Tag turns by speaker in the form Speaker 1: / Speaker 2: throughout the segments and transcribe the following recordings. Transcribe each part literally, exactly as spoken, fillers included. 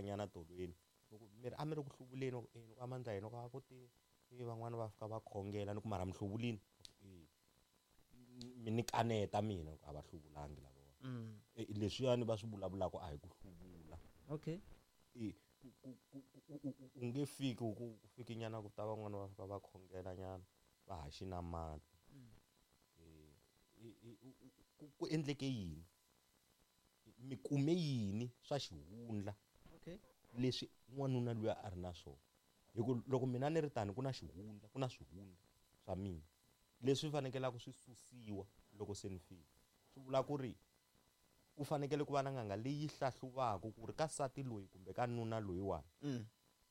Speaker 1: nyana tolweni loko mi ri a mi ri ku hluvuleni e ni ku amandla yena ku a ku ti van'wana va fika va khongela ni ku mara mi hluvulini e mi ni kaneta mina ku a va hluvulangi lava leswiyani va swi vulavulaka a hi ku hluvula
Speaker 2: okay
Speaker 1: e u nge fiki ku fiki nyana ku ta van'wana va fika va khongela nyana va haxi na mati ku endleke yini mi kume yini swa xihundla
Speaker 2: okay
Speaker 1: leswi n'wanuna luya a ri na swona hi ku loko mina ni ri tani ku na xihundla ku na swihundla swa mina leswi fanekelaka swi susiwa loko se ni fika swi vula ku ri ku fanekele ku va na n'anga leyi hlahluvaka ku ri ka nsati loyi kumbe ka nuna loyiwani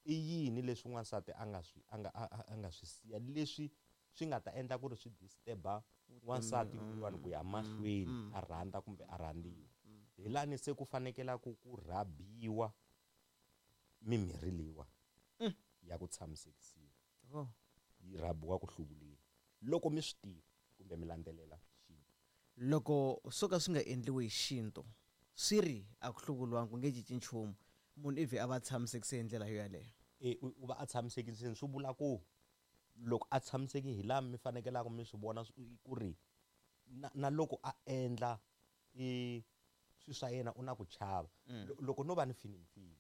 Speaker 1: i yini leswi n'wansati a nga swi a nga a nga swi siya leswi swi nga ta endla ku ri swi disturba n'wansati loyiwani ku ya mahlweni a rhandza kumbe a rhandziwa hi lani se ku fanekelaku ku rhabiwa mimirhi leyiwa ya ku tshamisekisiwa yi rhabiwa ku hluvuleni loko mi swi tiva kumbe mi landzelela xintu
Speaker 2: loko swo ka swi nga endliwi hi xintu swi ri a ku hluvuriwangi ku nge cinci nchumu munhu ivi a va tshamisekise hi ndlela yo yaleyo
Speaker 1: e u va a tshamisekiseni swi vula ku loko a tshamiseki hi laha mi fanekelaka mi swi vona ku ri na, na loko a endla i swi swa yena u na ku chava loko no va ni fini fini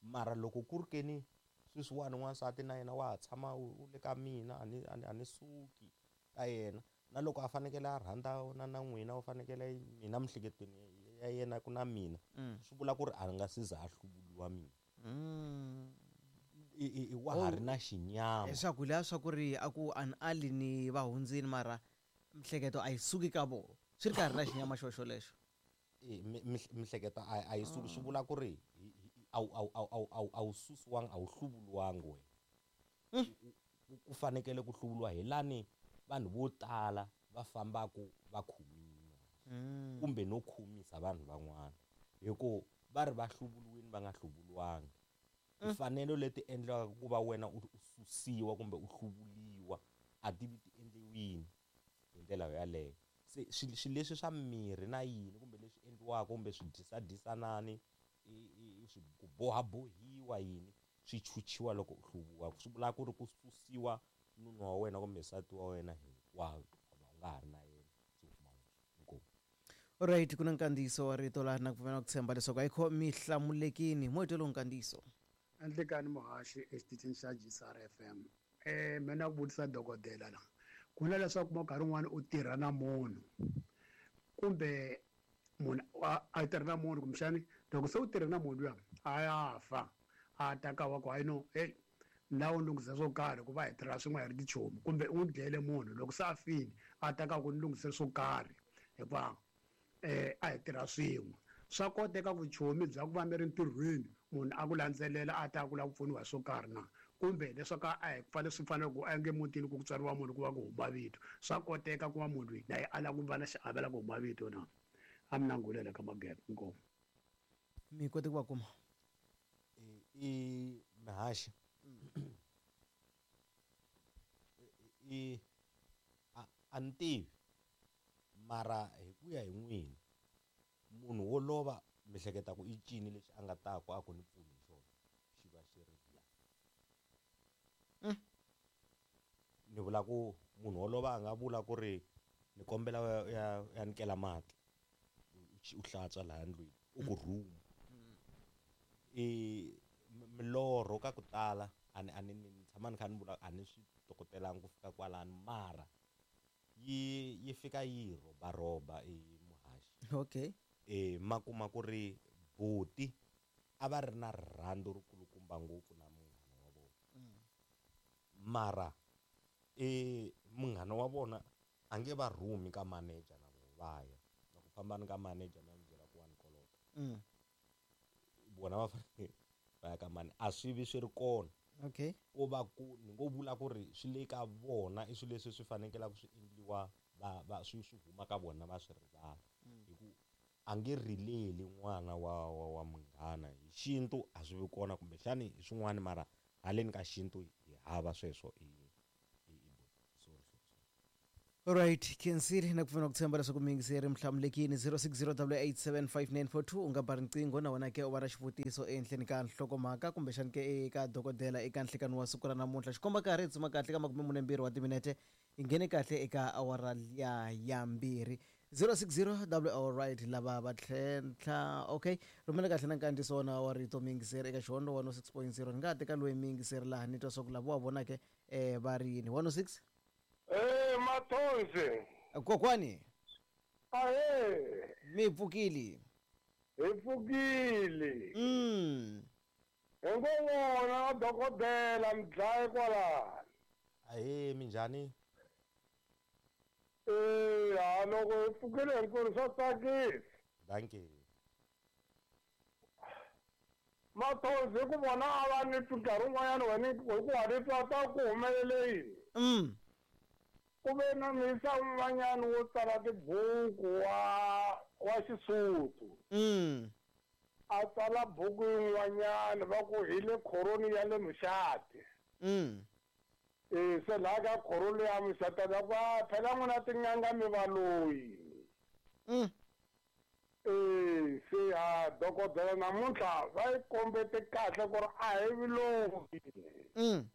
Speaker 1: mara loko ku ri keni sweswiwani n'wansati na yena wa ha tshama u le ka mina a ni a ni suki ka yena na loko a fanekele a rhandza na na n'wina u fanekele mina miehleketweni ya yena ku na mina swi vula ku ri a nga si za a hluvuriwa mina i wa ha ri na xinyama
Speaker 2: leswaku leswiya swa ku ri a ku an ali ni va hundzini mara miehleketo a yi suki ka vona swi ri karhi na xinyama xo xolexo
Speaker 1: e miehleketo a yi suki swi vula ku ri a wu a wu a wu a wu susiwangi a wu hluvuriwangi wena ku fanekele ku hluvuriwa hi lani vanhu vo tala va fambaku va khumiwa kumbe no khumisa vanhu van'wana hi ku va ri va hluvuriwini va nga hluvuriwangi timfanelo leti endliwaka ku va wena u susiwa kumbe u hluvuriwa a ti vi ti endliwini hi ndlela yaleyo se swilo leswi swa mirhi na yini kumbe leswi endliwaka kumbe swi dyisa-dyisanani swi ku bohabohiwa yini swi chuchiwa loko u hluvuriwa swi vula ku ri ku susiwa nuna wa wena kumbe nsati wa wena hinkwawo u nga ha ri na yena se u kuma inkomu.
Speaker 2: Alright, ku na nkandziyiso wa rito laha na ku pfumela ku tshemba leswaku ayikho mi hlamulekini mo hi lowu nkandziyiso
Speaker 3: Andlekani muhaxi exitichini xa G S R F M eh mina ku vutisa dokodela la ku na leswaku nkarhi wun'wani u tirha na munhu kumbe munhu a tirha na munhu kumbexani loko se u tirha na munhu luya a ya fa a ta ka wa ku hayi no hey na u lunghisa swo karhi ku va hi tirha swin'we hi ri tichomi kumbe u n'wi dlele munhu loko se a file a ta ka ku ni lunghisela swo karhi hikuva eh a hi tirha swin'we swa koteka vuchomi bya ku va mi ri ntirhweni munhu a ku landzelela a ta ku lava ku pfuniwa hi swo karhi na kumbe leswaku a hi fanele swi fanele ku a nge mutini ku tswariwa munhu ku va ku huma vito swa koteka ku va munhu loyi na ye a lava ku va na xiave la ku huma vito na a mi nangulela ka magebe inkomu
Speaker 2: mi kote ku va kuma
Speaker 1: i mihaxi i a ni tivi mara hi ku ya hi n'wina munhu wo lova mi hleketa ku i cini lexi a nga ta ku a ku ni pfuni hi xona xi va xi ri la ni vula ku munhu wo lova a nga vula ku ri ni kombela ya ya nikela mati u hlantswa laha ndlwini u ku rhuma i milorho ka ku tala a ni a ni ni tshama ni kha ni vula a ni swi tokotelanga ku fika kwalano mara yi yi fika yi rhobarhoba i muhaxi
Speaker 2: okay
Speaker 1: e ma kuma ku ri buti a va ri na rirhandzu ri kulukumba ngopfu na munghana wa vona mara e munghana wa vona a nge va rhumi ka manager na vona va ya na ku fambani ka manager mi ya n'wi byela ku wa ni kolota vona va fanele va ya ka mani a swi vi swi ri kona
Speaker 2: okay
Speaker 1: ko va ku ni ngo vula ku ri swi le ka vona i swilo leswi swi fanekelaka swi endliwa va va swi swi huma ka vona va swi rivala hi ku a nge rileli n'wana wa wa wa munghana hi xintu a swi vi kona kumbexani hi swin'wana mara haleni ka xintu hi hava sweswo i i sorry sorry.
Speaker 2: Alright, khensile na ku pfuna ku tshemba leswaku miyingiseri mihlamulekini zero six zero double eight seven five nine four two u nga ba riqingho na wena ke u va na xivutiso ehenhleni ka nhlokomhaka kumbexani ke eka dokodela eka nhlekani wa siku ra namuntlha. Xikomba karhi hi tsuma kahle ka makume mune mbirhi wa timinete hi nghene kahle eka awara liya ya mbirhi. zero six zero double all right lava va tlhentlha okay rhumela kahle na nkandziyiso wona wa rito miyingiseri eka xihondo one oh six point zero ni nga ha teka loyi miyingiseri laha ni twa swa ku lava wa vonake um va ri yini one oh six.
Speaker 4: Eh Mathonsi.
Speaker 2: Kokwani.
Speaker 4: Ahe.
Speaker 2: Mi pfukile.
Speaker 4: Hi pfukile.
Speaker 2: Mm.
Speaker 4: Hi ngo vona dokodela mdlayi kwala.
Speaker 1: Ahe minjhani?
Speaker 4: Eh ha loko hi pfukile hinkwerhu swa tsakisa.
Speaker 1: Dankie.
Speaker 4: Mathonsi hi ku vona a va ni twi nkarhi wun'wanyana wena hi ku wa ni twa ta ku humelele yini.
Speaker 2: Mm.
Speaker 4: Ku ve na misa un'wanyana wo tsala tibuku wa wa Xisuthu.
Speaker 2: Mm.
Speaker 4: A tsala buku yin'wanyana va ku hi le khoroni ya le Muxati.
Speaker 2: Mm.
Speaker 4: Eh se laha ka khoroni ya Muxati va ku phela n'wina tin'anga mi valoyi.
Speaker 2: Mm.
Speaker 4: Eh se ha dokodela namuntlha va yi kombete kahle ku ri a hi vuloyi.
Speaker 2: Mm.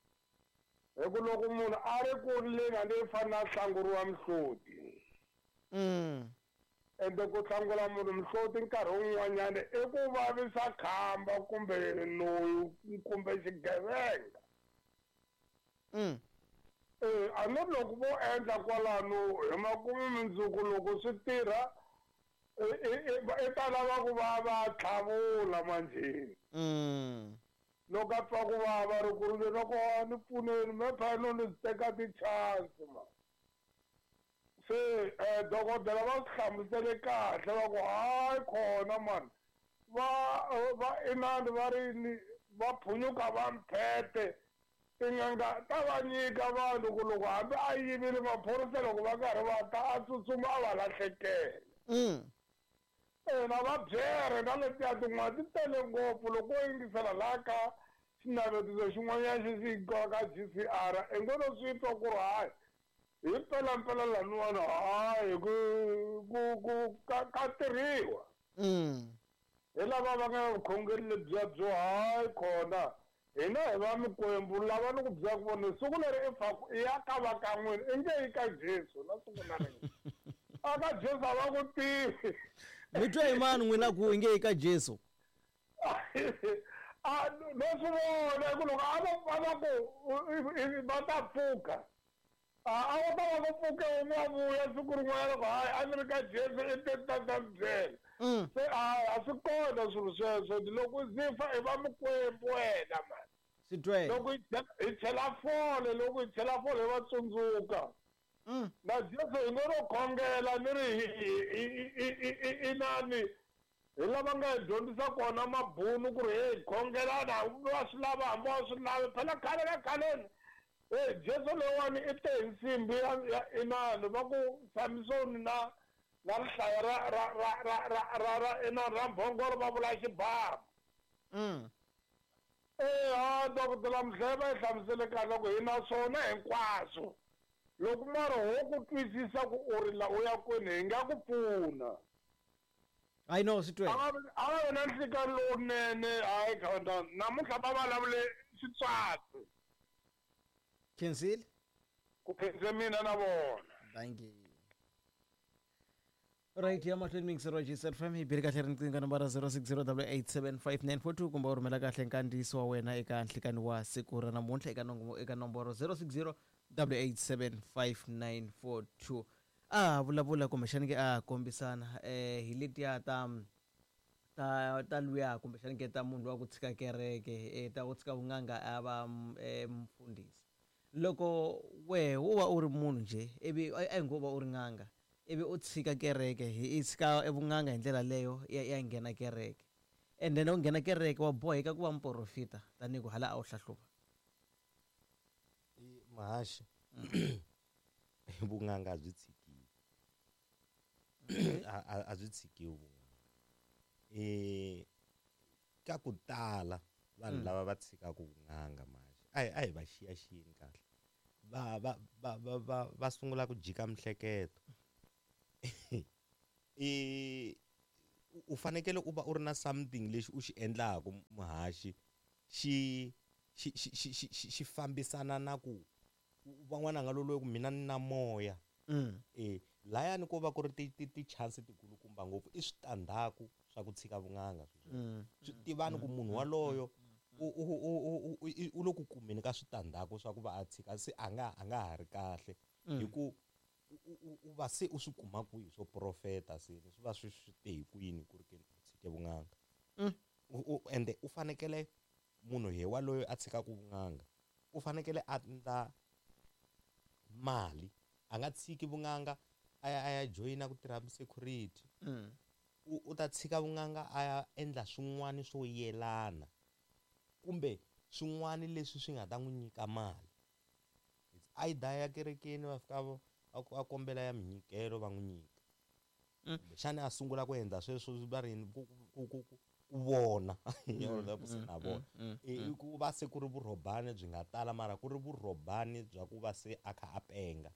Speaker 4: Hi ku loko munhu a ri ku rileni a ni fanele a hlanguriwa mihloti.
Speaker 2: Mm.
Speaker 4: Ende ku hlangula munhu mihloti nkarhi wun'wanyana i ku vavisa khamba kumbe loyi kumbe xigevenga.
Speaker 2: Mm.
Speaker 4: Eh a no loko vo endla kwalano hi makumu mundzuku loko swi tirha i ta lava ku va va tlhavula manjheni.
Speaker 2: Mm.
Speaker 4: Loko a twa ku vava ri ku ri loko a ni pfuneni me phela no ni teka ti-chance ma. Se eh dokodela va swi hlamusele kahle va ku hayi khona mani va va inani va ri ni va phunyuka va mphethe tin'anga ta va nyika vanhu ku loko hambi a yivile maphorisa loko va karhi va ta a tsutsuma a va lahlekela.
Speaker 2: Mm.
Speaker 4: Eh na va byere na letiya tin'wana ti tele ngopfu loko u yingisela laha ka xinavetiso xin'wanyana xi xi ka G C R i ngo no swi twa ku ri hayi hi mpelampela laniwani hayi ku ku ku ka ka tirhiwa.
Speaker 2: Mm.
Speaker 4: Hi lava va nga vukhongeri lebyiya byo hayi khona hina hi va mikwembu lava ni ku byela ku vona siku leri i faku i ya ka va ka n'wina i nge yi ka Jesu na siku na rin'we. A ka Jesu a va ku tivi.
Speaker 2: Mi twa hi mani n'wina ku i nge yi ka Jesu?
Speaker 4: A no swi vona hi ku loko a va a va ku va ta pfuka a a va ta va ku pfuke un'we a vuya siku rin'wana loko hayi a ni ri ka Jesu i te ta ta mi byela. Se a a swi kona swilo sweswo loko u zifa i va mikwembu wena mani.
Speaker 2: Swi twele.
Speaker 4: Loko hi chela fole loko hi chela fole hi va tsundzuka.
Speaker 2: Mm.
Speaker 4: Na Jesu hi ngo ro khongela ni ri i nani hi lava nga hi dyondzisa kona mabunu ku ri hey khongelana hambi wa swi lava hambi wa swi lavi phela khale ka khaleni hey Jesu loyiwani i te hi nsimbi ya inani va ku Samsoni na na rihlaya ra ra ra ra ra ra ra inani ra mbhongolo va vula xibamu.
Speaker 2: Mm.
Speaker 4: Eh ha dokodela Mdleva va yi hlamusele kahle ku hi na swona hinkwaswo. Loko mara ho ku twisisa ku u ri la u ya kwini hi nga ku pfuna.
Speaker 2: I know swi twele.
Speaker 4: A va vi na nhlikani lowunene hayi khona namuntlha va vulavule Xitswatsi.
Speaker 2: Khensile?
Speaker 4: Ku khense mina na vona.
Speaker 2: Thank you. Right ya mahlweni miyingiseri wa G C F M hi bile kahle riqingho nambara zero six zero double eight seven five nine four two kumbe u rhumela kahle nkandziyiso wa wena eka nhlikani wa siku ra namuntlha eka eka nomboro zero six zero double eight seven five nine four two. A vulavula kumbexani ke a kombisana eh hi letiya ta ta ta luya kumbexani ke ta munhu wa ku tshika kereke eh ta ku tshika vun'anga a va mfundhisi. Loko wehe wo va u ri munhu nje ivi a hi ngo va u ri n'anga ivi u tshika kereke hi tshika evun'anga hi ndlela leyo ya ya nghena kereke and then u nghena kereke wa boheka ku va muporofita tanihi ku hala a wu hlahluva.
Speaker 1: Mahaxi vun'anga byi tshikiwi a a byi tshikiwi vun'anga. Eh ka ku tala vanhu lava va tshikaka vun'anga mahaxi a hi a hi va xiyaxiyeni kahle va va va va va va sungula ku jika mihleketo. I u fanekele u va u ri na something lexi u xi endlaku muhaxi xi xi xi xi xi xi xi fambisana na ku van'wana nga loloyi ku mina ni na moya.
Speaker 2: Mm.
Speaker 1: Eh layani ko va ku ri ti ti ti chance tikulukumba ngopfu i switandzhaku swa ku tshika vun'anga sweswo.
Speaker 2: Mm.
Speaker 1: Swi tivani ku munhu waloyo u u u u u i- u le ku kumeni ka switandzhaku swa ku va a tshika se a nga a nga ha ri kahle hi ku u- u u- u va se u swi kuma kwihi swo profeta se swi va swi swi te hi kwini ku ri ke ni u tshike vun'anga.
Speaker 2: Mm.
Speaker 1: U- u ende u fanekele munhu hi waloyo a tshikaku vun'anga u fanekele a endla mali a nga tshiki vun'anga a ya a ya joyina ku tirha security.
Speaker 2: Mm.
Speaker 1: U u ta tshika vun'anga a ya endla swin'wana swo yelana kumbe swin'wana leswi swi nga ta n'wi nyika mali. It's either ya kerekeni va fika va a kombela ya minyikelo va n'wi nyika.
Speaker 2: Mm.
Speaker 1: Kumbexana a sungula ku endla sweswo va ri yini ku ku ku ku ku vona
Speaker 2: Mm,
Speaker 1: ku se
Speaker 2: mm,
Speaker 1: na vona.
Speaker 2: mm,
Speaker 1: I
Speaker 2: mm.
Speaker 1: ku va se ku ri vurhobani byi nga tala mara ku ri vurhobani bya ku va se a kha a penga.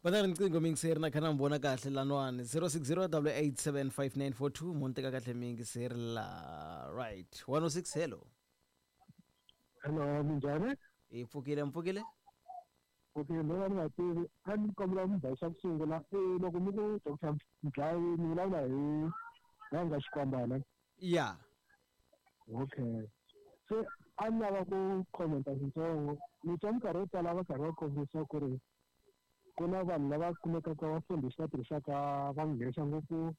Speaker 2: Va na riqingho miyingiseri na kha na mi vona kahle laniwani zero six zero double eight seven five nine four two mo ni teka kahle miyingiseri la right one oh six hello.
Speaker 5: Hello, minjhani?
Speaker 2: Hi pfukile mi pfukile?
Speaker 5: Okay, no va ni nga tivi a ni kombela mi xa ku sungula i loko mi ku Doctor Mdlayi mi vulavula hi n'anga Xikwambana.
Speaker 2: Ya.
Speaker 5: Okay. Se a ni lava ku commenta swintsongo ni twa minkarhi yo tala va karhi va kombisa ku ri ku na vanhu lava kumekaka vafundhisi va tirhisaka va nghenisa ngopfu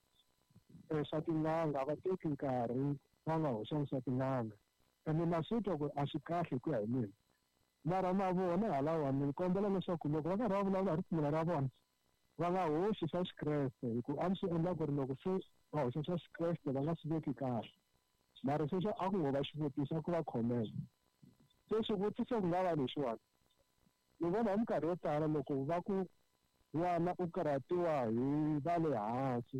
Speaker 5: eh, swa tin'anga va teki nkarhi va nga hoxangi swa tin'anga ene na swi twa ku a swi kahle hi ku ya hi mina mara na vona halawani ni kombela leswaku loko va karhi va vulavula hi ripfumelo ra vona va nga hoxi swa xikreste hi ku a ni swi endla ku ri loko se va hoxa swa xikreste va nga swi veki kahle mara sweswo a ku ngo va xivutiso a ku va comment se xivutiso ku nga va lexiwani ni vona hi minkarhi yo tala loko va ku n'wana u karhatiwa hi va le hansi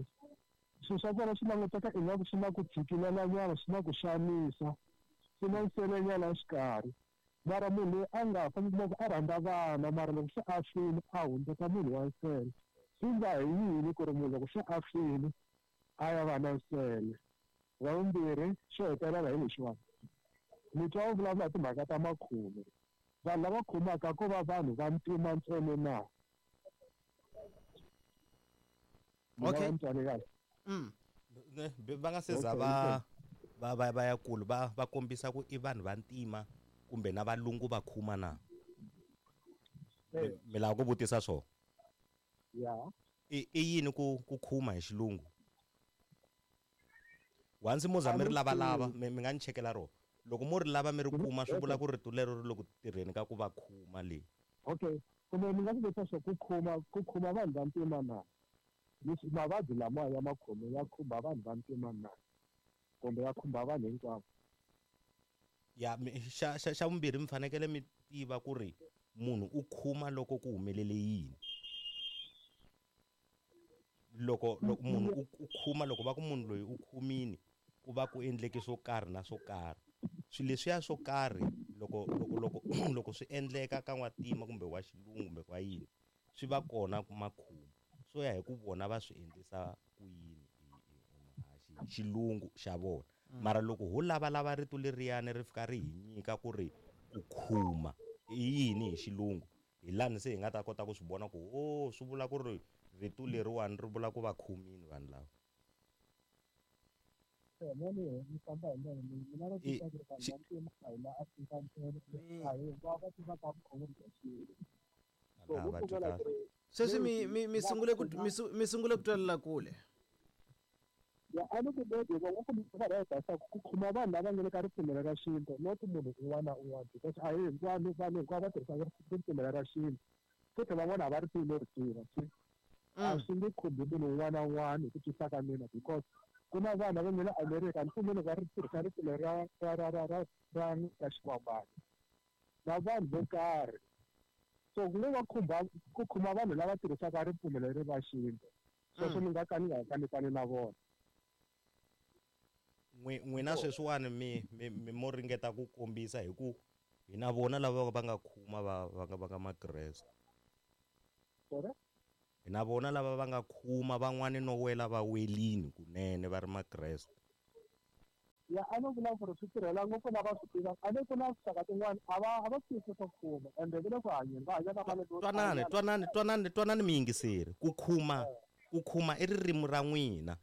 Speaker 5: swilo swa kona swi languteka ingaku swi na ku tshikilelanyana swi na ku xanisa swi na nselenyana exikarhi mara munhu loyi a nga fa mi kuma ku a rhandza vana mara loko se a file a hundzuka munhu wa nsele swi nga hi yini ku ri munhu loko se a file a ya va na nsele wa vumbirhi xo hetelela hi lexiwani ni twa u vulavula hi timhaka ta makhume vanhu lava khumaka ko va vanhu va ntima ntsena na Ni nga
Speaker 2: Okay.
Speaker 5: va ni twale kahle
Speaker 2: Mm.
Speaker 1: Ne, va nga se za
Speaker 5: Okay,
Speaker 1: va va va va ya kulu va va kombisa ku i vanhu va ntima kumbe na valungu va khuma na.
Speaker 5: Eh.
Speaker 1: Mi lava ku vutisa swona?
Speaker 5: Ya.
Speaker 1: I i yini ku ku khuma hi xilungu? Once mo za mi ri lavalava mi mi nga ni chekela rona. Loko mo ri lava mi ri kuma swi vula ku rito lero ri le ku tirheni ka ku va khuma le.
Speaker 5: Okay kumbe ni nga ku vutisa swa ku khuma ku khuma vanhu va ntima na Leswi mavabyi lama ya makhume ya khumba vanhu va ntima na kumbe ya khumba vanhu hinkwavo.
Speaker 1: Ya mi xa xa xa vumbirhi mi fanekele mi tiva ku ri munhu u khuma loko ku humelele yini. Loko loko munhu u u khuma loko va ku munhu loyi u khumini ku va ku endleke swo karhi na swo karhi. Swilo leswiya swo karhi loko loko loko loko swi endleka ka n'wantima kumbe wa xilungu kumbe wa yini swi va kona ku makhuma swo ya hi ku vona va swi endlisa ku yini hi hi hi xilungu xa vona. Mara loko ho lavalava rito leriyani ri fika ri hi nyika ku ri ku khuma i yini hi xilungu hi lani se hi nga ta kota ku swi vona ku oh swi vula ku ri rito leriwani ri vula ku va khumini vanhu lava.
Speaker 5: Ni famba hi ndlela leyi mina na
Speaker 1: I
Speaker 5: twisisa ku ri vanhu
Speaker 1: xi
Speaker 5: va ntima a hi la Afrika ntsena a hi hinkwavo va tivaka vukhongeri bya xintu so
Speaker 1: A
Speaker 5: vo
Speaker 1: va twi
Speaker 5: pfumela
Speaker 1: kahle.
Speaker 5: ku ri
Speaker 2: Sweswi mi mi mi sungule ku mi su- mi sungule ku twelela kule.
Speaker 5: Ya a ni ku maybe va nga ku va va ta ku khuma vanhu lava nga le ka ripfumelo ra xintu not munhu un'wana na un'wana because a hi hinkwavo vanhu hinkwavo va tirhisaka ripfumelo ra xintu futhi van'wana a va ri tivi no ri tiva se a
Speaker 2: Mm.
Speaker 5: swi nge khumbi munhu un'wana na un'wana hi ku twisisa ka mina because ku na vanhu lava nga le America ni pfumeli va ri tirhisa ripfumelo ra ra ra ra ra ra ra Xikwambana na vanhu vo karhi so ku ngo va khumba ku khumba vanhu lava tirhisaka ripfumelo leri ra xintu sweswo
Speaker 2: Mm.
Speaker 5: ni nga ka ni nga kanetani na vona.
Speaker 1: N'wi n'wina sweswiwani mi mi mi mo ringeta ku kombisa hi ku Hi na vona lava va nga khuma va va nga va nga makreste.
Speaker 5: Sorry?
Speaker 1: Hi na vona lava va nga khuma van'wani no wela va welini kunene va ri makreste.
Speaker 5: Ya a no vula ku ri swi tirhela ngopfu lava swi tivaka a ni ku na tinxaka tin'wani a va a va swi twisisi swa ku khuma ende va le ku hanyeni va hanya na malembe yo
Speaker 1: Twanani
Speaker 5: talanyana.
Speaker 1: twanani twanani twanani miyingiseri ku khuma ku khuma i ririmi ra n'wina.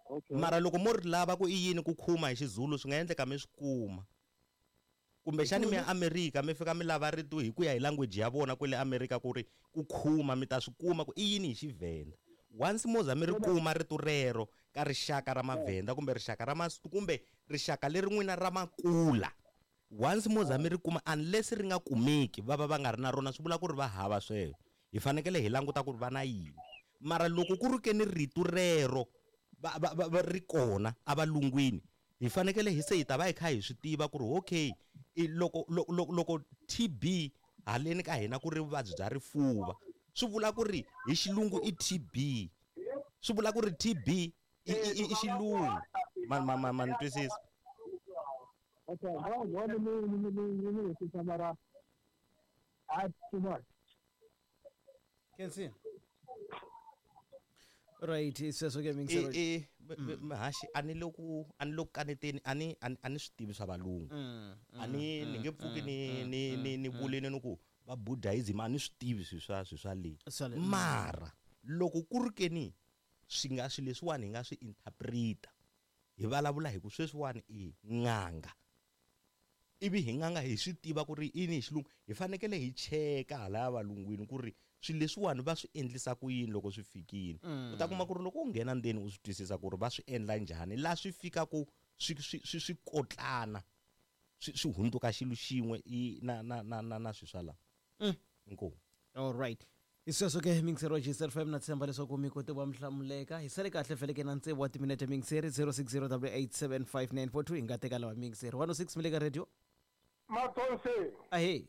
Speaker 5: Okay.
Speaker 1: Mara loko mo ri lava ku i yini ku khuma hi xiZulu swi nga endleka mi swi kuma. Kumbexani mi ya Amerika mi fika mi lava rito hi ku ya hi language ya vona kwale Amerika ku ri ku khuma mi ta swi kuma ku i yini hi Xivhenda. Once mo za mi ri kuma rito rero ka rixaka ra Mavhenda kumbe rixaka ra Mas kumbe rixaka leri n'wina ra Makula. Once mo za mi ri kuma unless ri nga kumeki va va va nga ri na rona swi vula ku ri va hava sweswo. Hi fanekele hi languta ku ri va na yini. Mara loko ku ri ke ni rito rero va va va va ri kona a valungwini hi fanekele hi se hi ta va hi kha hi swi tiva ku ri okay i loko loko loko loko T B haleni ka hina ku ri vuvabyi bya rifuva swi vula ku ri hi xilungu i T B swi vula ku ri T B i i i i xilungu ma ma ma ma ni twisisa.
Speaker 5: Okay, no, no, ni ni ni ni ni ni twisisa mara a too much.
Speaker 2: Kensi. Right, sweswo ke
Speaker 1: E
Speaker 2: miyingiseri.
Speaker 1: e haxi a ni le ku a ni le ku kaneteni a ni a ni a ni swi tivi swa valungu.
Speaker 2: Mm,
Speaker 1: A ni ni nge pfuki ni ni ni ni vulini ni ku va Buddhism a ni swi tivi swilo swa swilo swa le.
Speaker 2: Swa le.
Speaker 1: Mara loko ku ri ke ni swi nga swilo leswiwani hi nga swi interpreta hi vulavula hi ku sweswiwani i n'anga. Ivi hi n'anga hi swi tiva ku ri i yini hi xilungu hi fanekele hi cheka halaya valungwini ku ri swilo leswiwani va swi endlisa ku yini loko swi fikile. U ta kuma ku ri loko u nghena ndzeni u swi twisisa ku ri va swi endla njhani laha swi fikaku swi swi swi swi kotlana swi swi hundzuka xilo xin'we i na na na na na swilo swa la.
Speaker 2: Mm.
Speaker 1: Inkomu.
Speaker 2: All right. Hi sweswo ke miyingiseri wa G S F M na tshemba leswaku mi kote va mi hlamuleka. Hi sale kahle vhele ke na tsevu wa timinete miyingiseri zero six zero double eight seven five nine four two hi nga teka lava miyingiseri. one oh six mi le ka radio.
Speaker 4: Mathonsi.
Speaker 2: Ahee.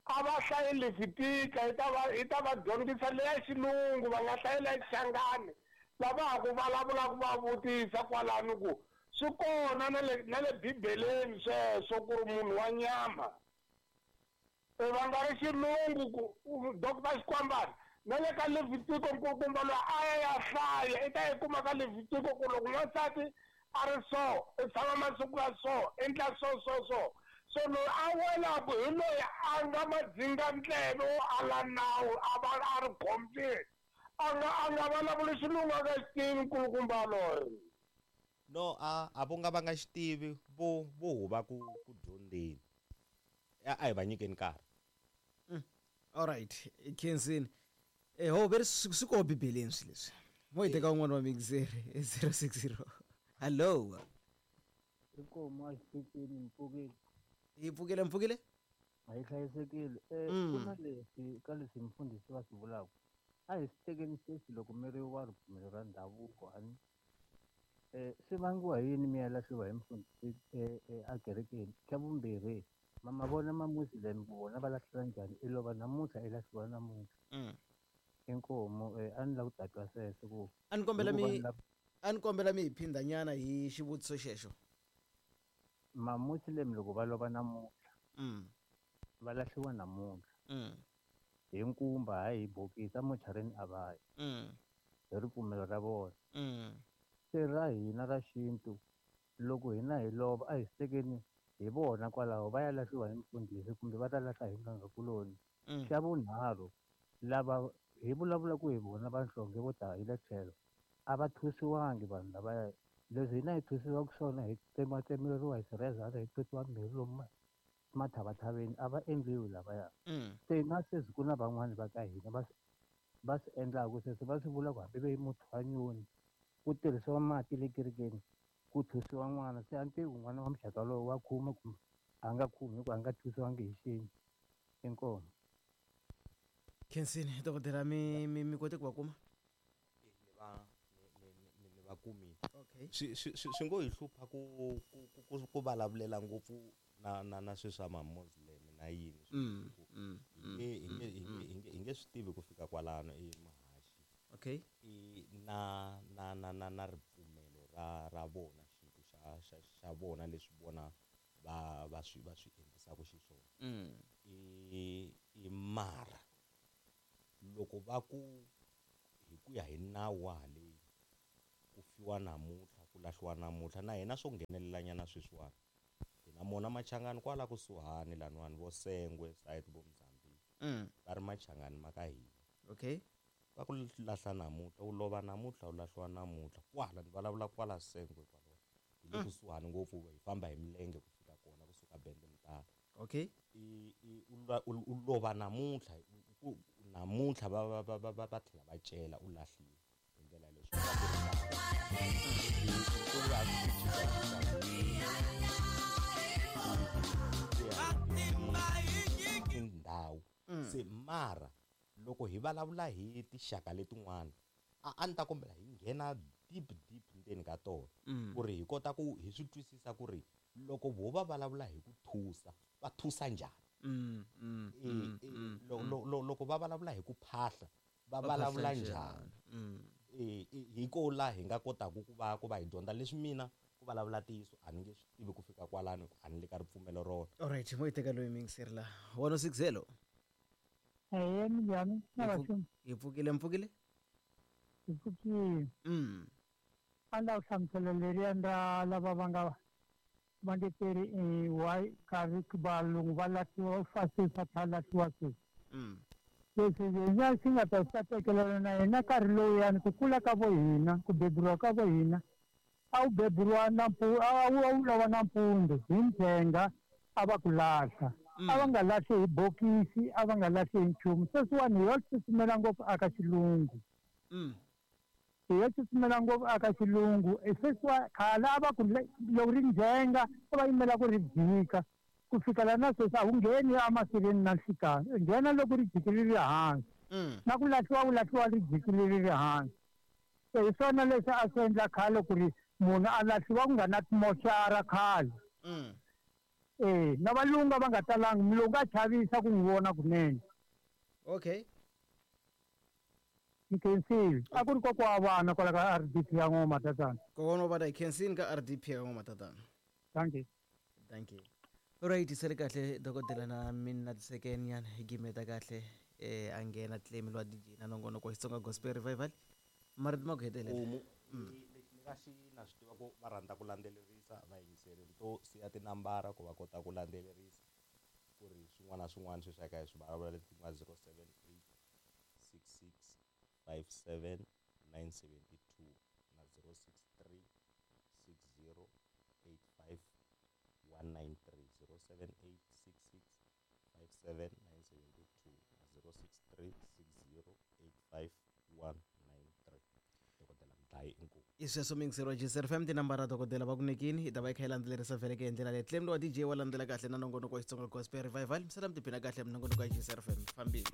Speaker 4: A va hlayi Levitika hi ta va hi ta va dyondzisa leya xilungu va nga hlayi leya Xichangani. Lava ha ku vulavulaka va vutisa kwalano ku swi kona na le na le Bibeleni sweswo ku ri munhu wa nyama. E va nga ri xilungu ku Doctor Xikwambana na le ka Levitiko nkulukumba loyi a ya ya hlaya i ta yi kuma ka Levitiko ku loko n'wansati a ri so i tshama masiku ya so endla so so so. So loyi a welaku hi loyi a nga madzinga ndleve wo ala nawu a va a ri khombyeni. A nga a nga vulavuli xilungu a nga xi tivi nkulukumba loyi.
Speaker 1: No a a vo nga va nga xi tivi vo vo huva ku ku dyondzeni. A a hi va nyikeni nkarhi.
Speaker 2: All right, Kensini. Eh ho veri swi koho Bibeleni swilo leswi. Mo hi teka un'wana wa miyingiseri zero six zero. Hello.
Speaker 6: Inkomu a xitichini mpfukile.
Speaker 2: Hi pfukile mpfukile?
Speaker 6: A yi hlayisekile. Eh
Speaker 2: Mm.
Speaker 6: ku na leswi ka leswi mfundhisi va swi vulaka. A hi swi tekeni sweswi loko mi ri wa ripfumelo ra ndhavuko a ni. Eh swi vangiwa hi yini mi ya lahliwa hi mfundhisi eh, eh, a kerekeni? Xa vumbirhi ma ma vona ma Muslim ku vona va lahliwa njhani? I lova namuntlha i lahliwa namuntlha.
Speaker 2: Mm.
Speaker 6: Inkomu eh a ni lava ku ta twa sweswo ku
Speaker 2: A ni kombela
Speaker 6: hikuva
Speaker 2: mi
Speaker 6: ni lava
Speaker 2: a ni kombela mi hi phindhanyana hi xivutiso xexo.
Speaker 6: Ma Muslim loko va lova namuntlha
Speaker 2: Mm.
Speaker 6: va lahliwa namuntlha.
Speaker 2: Mm.
Speaker 6: Hi nkumba hayi hi bokisi amocharini a va yi.
Speaker 2: Mm.
Speaker 6: Hi ripfumelo ra vona.
Speaker 2: Mm.
Speaker 6: Se ra hina ra xintu loko hina hi lova a hi swi tekeni hi vona kwalaho va ya lahliwa hi mfundhisi kumbe va ta lahla hi n'anga-kuloni.
Speaker 2: Mm.
Speaker 6: Xa vunharhu lava hi vulavulaka hi vona vanhlonge vo ta hi le tlhelo a va thusiwangi vanhu lavaya. Leswi hina hi thusiwaka swona hi tsematsemeriwa hi swirhezani hi totiwa mirhi lomu mathavathaveni a va endliwi lavaya.
Speaker 2: Mm.
Speaker 6: Se na sweswi ku na van'wani va ka hina va swi va swi endlaka sweswo va swi vula ku hambi ve muthwanyoni ku tirhisiwa mati le kerekeni ku thusiwa n'wana se a ni tivi ku n'wana wa muxaka lowu wa khuma kumbe a nga khumi hikuva a nga thusiwangi hi xintu. Inkomu.
Speaker 2: Kensini dokodela mi mi mi kote ku va kuma?
Speaker 1: Ni va ni ni ni va kumile.
Speaker 2: Okay.
Speaker 1: Swi swi swi ngo hi hlupha ku ku ku ku vulavulela ngopfu na na na swilo swa ma Muslim na yini.
Speaker 2: Mm, mm,
Speaker 1: Hi nge hi nge hi nge hi nge hi nge swi tivi ku fika kwalano i muhaxi.
Speaker 2: Okay.
Speaker 1: I na na na na na ripfumelo ra ra vona xintu xa xa xa vona leswi vona va va swi va swi endlisaka xiswona.
Speaker 2: Mm.
Speaker 1: I i mara loko va ku hi ku ya hi nawu wa haleni ku fiwa namuntlha ku lahliwa namuntlha na hina swo nghenelelanyana sweswiwani hi na mona machangani kwala kusuhani laniwani vo Sengwe side vo Mozambique
Speaker 2: Mm.
Speaker 1: va ri machangani ma ka hina
Speaker 2: Okay.
Speaker 1: va ku lahla namuntlha u lova namuntlha u lahliwa namuntlha kwala ni vulavula kwala Sengwe kwala hi le kusuhani ngopfu hi famba hi milenge ku fika kona kusuka Bende Mutala.
Speaker 2: Okay.
Speaker 1: I i u la- u u lova namuntlha u- namuntlha va va va va va va tlhela va cela u lahliwa hi ndlela yaleyo swi vula ku ri na- i- i- i swi cincacinca hi tindhawu se mara loko hi vulavula hi tinxaka letin'wana a a ni ta kombela hi nghena deep deep ndzeni ka tona
Speaker 2: Mm.
Speaker 1: ku ri hi kota ku hi swi twisisa ku ri loko vo va vulavula hi ku thusa va thusa njhani.
Speaker 2: Mm, mm,
Speaker 1: E,
Speaker 2: mm,
Speaker 1: e,
Speaker 2: mm,
Speaker 1: lo-
Speaker 2: mm.
Speaker 1: lo- lo- loko va vulavula hi ku phahla va
Speaker 2: Va phahla
Speaker 1: vulavula
Speaker 2: njhani?
Speaker 1: njhani?
Speaker 2: Mm.
Speaker 1: E, e, hi ko laha hi nga kotaka ku va ku va hi dyondza leswi mina ku vulavula ntiyiso a ni nge swi tivi ku fika kwalano a ni le ka ripfumelo rona.
Speaker 2: Alright, mo yi teka loyi miyingiseri laha one oh six hello.
Speaker 5: Eya, minjhani? Na
Speaker 2: Hi pfu-
Speaker 5: vaxumi.
Speaker 2: hi pfukile mpfukile.
Speaker 5: Hi pfukile.
Speaker 2: Mm.
Speaker 5: A ni lava ku hlamusela leriya ra lava va nga va nge teri eh, why karhi valungu va lahliwa fa sweswi va tlhela lahliwa sweswi.
Speaker 2: Mm.
Speaker 5: Leswi hina swi nga ta swi ta tekelela na hina nkarhi lowuyani ku kula ka vo hina ku beburiwa ka vo hina a wu beburiwa nampu a wu a wu lova nampundzu hi ndzhenga a va ku lahla.
Speaker 2: Mm.
Speaker 5: A va nga lahli hi bokisi a va nga lahli hi nchumu sweswiwani hi yo tsutsumela ngopfu aka xilungu.
Speaker 2: Mm.
Speaker 5: Hi yo tsutsumela ngopfu aka xilungu e sweswiwa khale a va ku le- loko ri ndzhenga a va yimela ku ri jika ku fikela na sweswi a wu ngheni emasirheni na nhlikani u nghena loko ri jikile ri ri hansi.
Speaker 2: Mm.
Speaker 5: Na ku lahliwa ku lahliwa ri jikile ri ri hansi. Se hi swona leswi a swi endla khale ku ri munhu a lahliwa ku nga na timoxara khale.
Speaker 2: Mm.
Speaker 5: E na valungu a va nga talangi mulungu a chavisa ku n'wi vona kunene.
Speaker 2: Okay.
Speaker 5: Ni khensile a ku ri kokwa wa vana kwala ka R D P ya N'wa Matatana.
Speaker 2: Kokwana wa vana hi khensini ka R D P ya N'wa Matatana.
Speaker 5: Thank you.
Speaker 2: Thank you. Alright, sele kahle dokodela na mina tiseken nyana hi gimeta kahle eh a nghena claim lwa D J na nongonoko wa Xitsonga Gospel Revival. Marito ma ku hetelela.
Speaker 1: Homu lexi ni nga xi na swi tiva ku va rhandza ku landzelerisa vayingiseri ni to siya tinambara ku va kota ku landzelerisa ku ri swin'wana na swin'wana sweswi a ka hi swi vulavula leti nga zero seven eight six six five seven nine seventy two na zero six three six zero eight five one nine three zero seven eight six six five seven nine seventy two na zero six three six zero eight five one nine three. Dokodela Mdlayi inkomu.
Speaker 2: I sweswo miyingiseri wa G S R F M tinambara dokodela va ku nyikini hi ta va yi kha yi landzelerisa vhele ke hi ndlela leyi claim lowa D J wa landzela kahle na nongonoko wa Xitsonga Gospel Revival misala mi tiphina kahle minongonoko ya G S R F M fambile.